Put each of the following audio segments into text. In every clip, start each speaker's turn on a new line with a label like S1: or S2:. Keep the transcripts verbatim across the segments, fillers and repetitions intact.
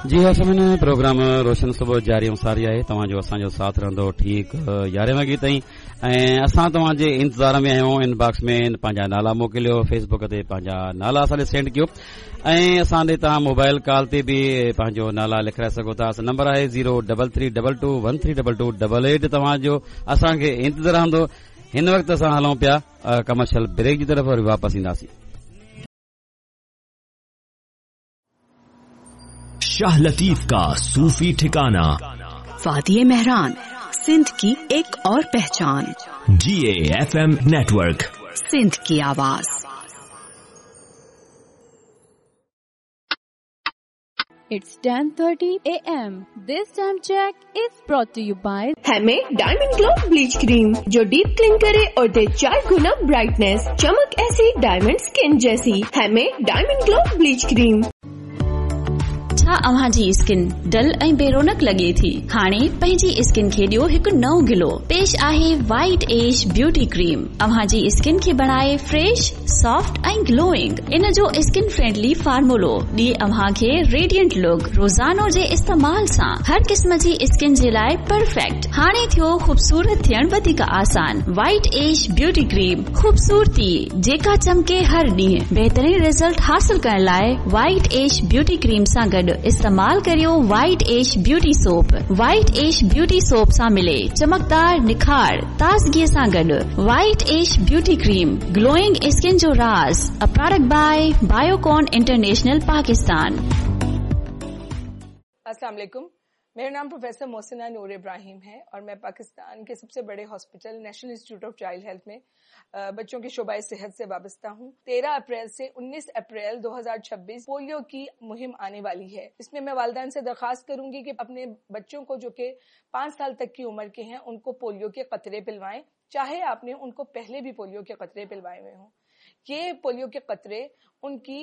S1: जी हाँ सामीन, प्रोग्राम रोशन सुबह जारी ऐं सारी आहे। तव्हांजो असांजो साथ रहंदो ठीकु यारहें वॻे ताईं ऐं असां तव्हांजे इंतज़ार में आहियूं। इनबॉक्स में पंहिंजा नाला मोकिलियो, फेसबुक ते पंहिंजा नाला असां ॾे सेंड कयो ऐं असां ॾे तव्हां मोबाइल कॉल ते बि पंहिंजो नाला लिखाए सघो था। नंबर आहे zero double three double two one three double two double eight. तव्हांजो असांखे इंतज़ार रहंदो। हिन वक़्तु असां हलूं पिया कमर्शियल ब्रेक जी तरफ़, वरी वापसि ईंदासीं।
S2: शाह लतीफ का सूफी ठिकाना,
S3: वादी मेहरान, सिंध की एक और पहचान,
S2: G A F M network,
S3: Sindh की आवाज।
S4: It's ten thirty A M. This time check is brought to you by
S5: हमें डायमंड ग्लो ब्लीच क्रीम, जो डीप क्लीन करे और दे चार गुना ब्राइटनेस, चमक ऐसी डायमंड स्किन जैसी। हमें डायमंड ग्लो ब्लीच क्रीम।
S6: छा अव्हां जी स्किन डल ऐं बेरोनक लॻे थी? हाणे पंहिंजी स्किन खे ॾियो हिकु नओं गिलो। पेश आहे वाइट एश ब्यूटी क्रीम। अव्हां जी स्किन खे बणाए फ्रेश, सॉफ्ट ऐं ग्लोइंग। इन जो स्किन फ्रेंडली फार्मूलो ॾिए अव्हां खे रेडियंट लुक। रोज़ानो जे इस्तेमाल सां हर क़िस्म जी स्किन जे लाइ परफेक्ट। हाणे थियो ख़ूबसूरत थियण वधीक आसान। वाइट एश ब्यूटी क्रीम, ख़ूबसूरती जेका चमके हर ॾींहुं। बहितरीन रिज़ल्ट हासिल करण लाइ वाइट एश ब्यूटी क्रीम सां गॾु इस्तेमाल करियो white ash beauty soap. White ash beauty soap सां मिले चमकदार निखार ताज़गीअ सां गॾु। White ash beauty cream, glowing skin जो राज़। A product by Biocon international Pakistan.
S7: अस्सलाम वालेकुम, मेरा नाम प्रोफेसर मोहसिना नूर इब्राहिम है और मैं पाकिस्तान के सबसे बड़े hospital national institute of child health में बच्चों के शोबाए सेहत से वाबस्ता हूँ। तेरह अप्रैल से उन्नीस अप्रैल दो हज़ार छब्बीस पोलियो की मुहिम आने वाली है। इसमें मैं वालिदैन से दरख्वास्त करूंगी कि अपने बच्चों को जो कि पाँच साल तक की उम्र के हैं उनको पोलियो के कतरे पिलवाएं, चाहे आपने उनको पहले भी पोलियो के कतरे पिलवाए हुए हों। ये पोलियो के कतरे उनकी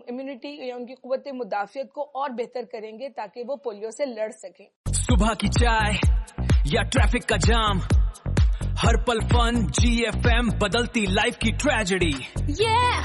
S7: इम्यूनिटी या उनकी कुव्वत मुदाफियत को और बेहतर करेंगे ताकि वो पोलियो से लड़ सकें।
S8: सुबह की चाय या ट्रैफिक का जाम, हर पल फन जी एफ एम बदलती लाइफ की ट्रेजेडी।
S4: Yeah!